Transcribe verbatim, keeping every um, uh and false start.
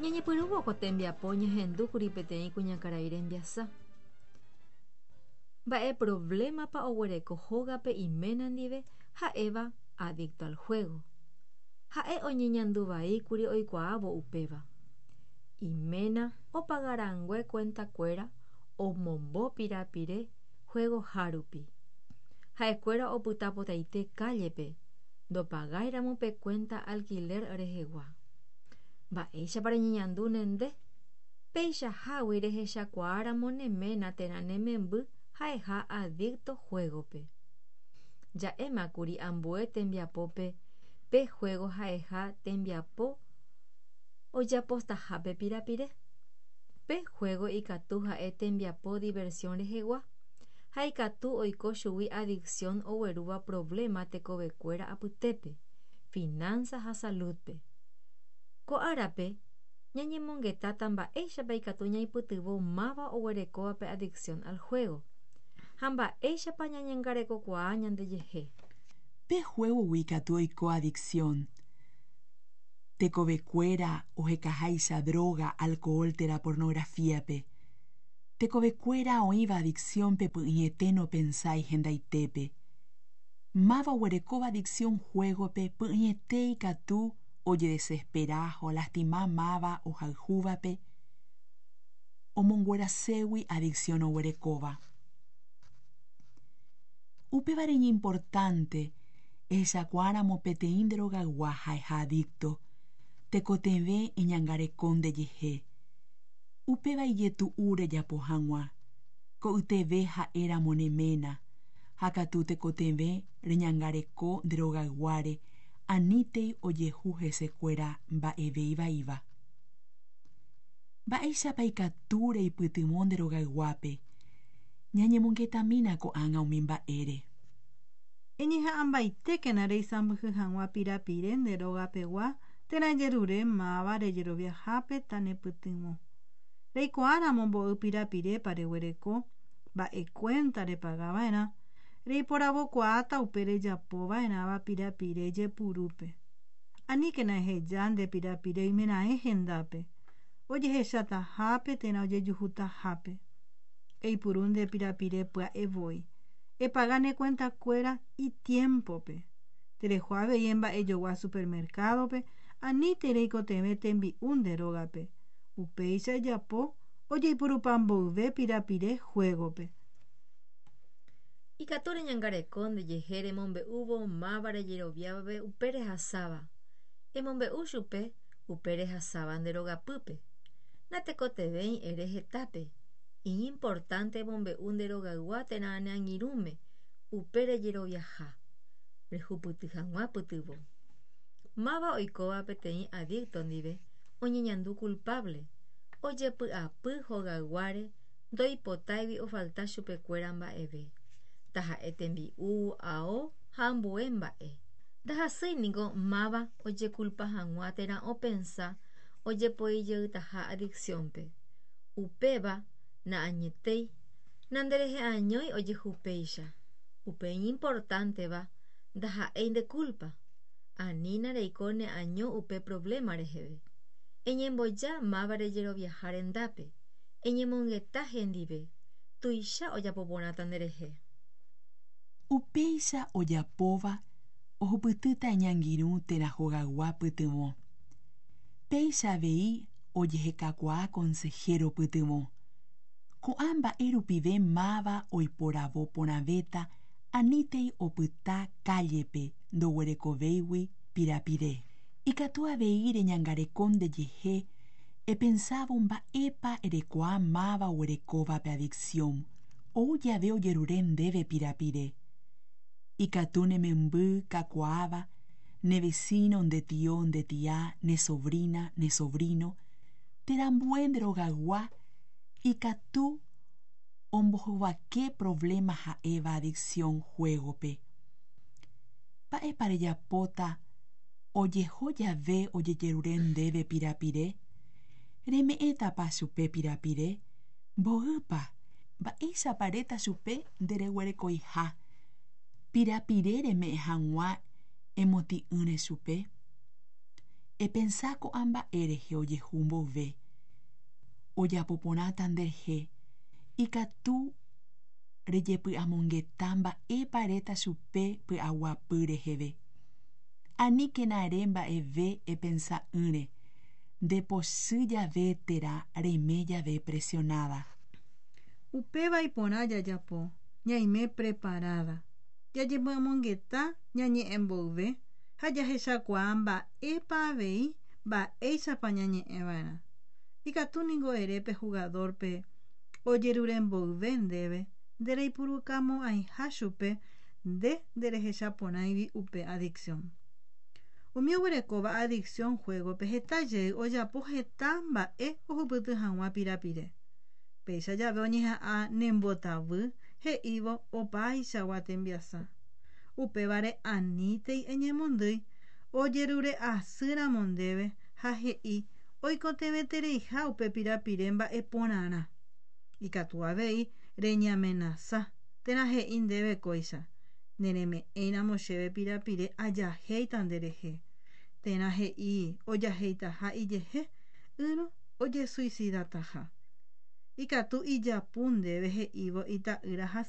Ñañepyrũvo ko tembiapo ñahendúkuri peteĩ kuñakarai rembiasa. Mba'e problemapa oguereko hógape iména ndive ha'éva adicto al juego. Ha'e oñeñanduvaíkuri oikuaávo upéva. Iména opagarangue cuentakuéra omombo pirapire juegoha rupi. Ha'ekuéra opytapotaite calle-pe ndopagáiramo pe cuenta alquiler rehegua. Mba'éichapa reñeñandúne nde peichahágui rehechakuaáramo ne ména térã ne memby ha'eha adicto juego-pe. Ja'émakuri ambue tembiapópe pe juego ha'eha tembiapo ojeapostahápe pirapire. Pe juego ikatu ha'e tembiapo diversión rehegua ha ikatu oiko chugui adicción oguerúva problema tekovekuéra apytépe, finanza ha salud-pe. Ko árape ñañemongetáta mba'éichapa ikatu ñaipytyvõ máva oguerekóvape adicción al juego ha mba'éichapa ñañangarekokuaa ñandejehe. Pe juego-gui ikatu oiko adicción. Tekovekuéra ohekaháicha droga, alcohol térã pornografía-pe. Tekovekuéra oĩva adicción-pe py'ỹiete nopensái hendaitépe. Máva oguerekóva adicción juego-pe py'ỹiete ikatu ojedesespera ha olastima máva ohayhúvape omongueraségui adicción oguerekóva. Upévare iñimportante ehechakuaáramo peteĩ nde rogaygua ha'eha adicto, tekotevẽ eñangareko ndejehe. Upéva ijetu'u rejapo hag̃ua, ko'yteve ha'éramo ne ména, ha katu tekotevẽ reñangareko nde rogayguáre anítei ojehu hesekuéra mba'eve ivaíva. Mba'éichapa ikatu reipytyvõ nde rogayguápe. Ñañemongetamína ko'ág̃a umi mba'ére. Eñeha'ãmbaitékena reisãmbyhy hag̃ua pirapire nde rogapegua térã ejerure máva rejeroviahápe tanepytyvõ. Reikuaáramo mbo'y pirapirépa reguereko, mba'e cuenta repagava'erã, reiporavokuaáta upe rejapova'erãva pirapire jepurúpe. Aníkena eheja nde pirapire oimeraẽ hendápe, ojehechatahápe térã ojejuhutahápe. Eipuru nde pirapire pya'evoi. Epaga ne cuentakuéra itiempope. Tereho avei emba'ejogua supermercado-pe anítei reikotevẽ tembi'u nde rógape. Upéicha ejapo ojeipurupa mboyve pirapire juego-pe. Ikatu reñangareko ndejehe remombe'úvo máva rejeroviávape upe rehasáva. Emombe'u chupe upe rehasáva nde rogapýpe. Natekotevẽi ere hetápe. Iñimportante emombe'u nde rogaygua térã ne angirũme upe rejeroviaha. Rehupyty hag̃ua pytyvõ. Máva oikóva peteĩ adicto ndive oñeñandu culpable, ojepy'apy hogayguáre ndoipotáigui ofalta chupekuéra mba'eve. Taha'e tembi'u, ao ha ambue mba'e. Ndahasýi niko máva ojekulpa hag̃ua térã opensa ojepoijeytaha adicción-pe. Upéva na'añetéi, nanderehe'añói ojehu péicha. Upe iñimportánteva ndaha'éi nde culpa. Anína reiko neaño upe problema reheve. Eñemboja máva rejeroviaha rendápe. Eñemongeta hendive. Tuicha ojapo porãta nderehe. Upéicha ojapóva ohupytýta iñangirũ térã hogaygua pytyvõ. Péicha avei ojehekakuaa consejero pytyvõ. Ko'ã mba'e rupive máva oiporavo porãvéta anítei opyta calle-pe ndoguerekovéigui pirapire. Ikatu avei reñangareko ndejehe epensávo mba'épa erekuaa máva oguerekóvape adicción ou jave ojerure ndéve pirapire. Ikatu ne memby kakuaáva, ne vecino, nde tio, nde tia, ne sobrina, ne sobrino, térã ambue nde rogaygua ikatu ombohovake problema ha'éva adicción juego-pe. Mba'épa rejapóta ojeho jave ojejerure ndéve pirapire? Reme'ẽtapa chupe pirapire? Mboýpa? Mba'éichapa eréta chupe ndereguerekoiha pirapire reme'ẽ hag̃ua emotĩ'ỹre chupe? Epensa ko'ã mba'e rehe ojehu mboyve. Ojapo porãta nderehe. Ikatu rejepy'amongeta mba'épa eréta chupe py'aguapy reheve. Aníkena ere mba'eve epensa'ỹre, ndepochy jave térã reime jave presionada. Upéva iporã jajapo, ñaime preparada. Jajepy'amongeta ñañe'ẽ mboyve ha jahechakuaa mba'épa avei mba'éichapa ñañe'ẽva'erã. Ikatu ningo ere pe jugador-pe ojerure mboyve ndéve ndereipurukamo'ãiha chupe nde nderehechaporãigui upe adicción. Umi oguerekóva adicción juego-pe heta jey ojapo heta mba'e ohupyty hag̃ua pirapire. Péicha jave oñeha'ã nembotavy he'ívo opaichagua tembiasa. Upévare anítei eñemondýi ojerure'asýramo ndéve ha he'i oikotevẽtereiha upe pirapire mba'eporãrã. Ikatu avei reñeamenasa térã he'i ndéve kóicha nereme'ẽiramo chéve pirapire ajahéita nderehe térã he'i ojaheitaha ijehe ỹrõ ojesuicidataha. Ikatu ijapu ndéve he'ívo ita'ýra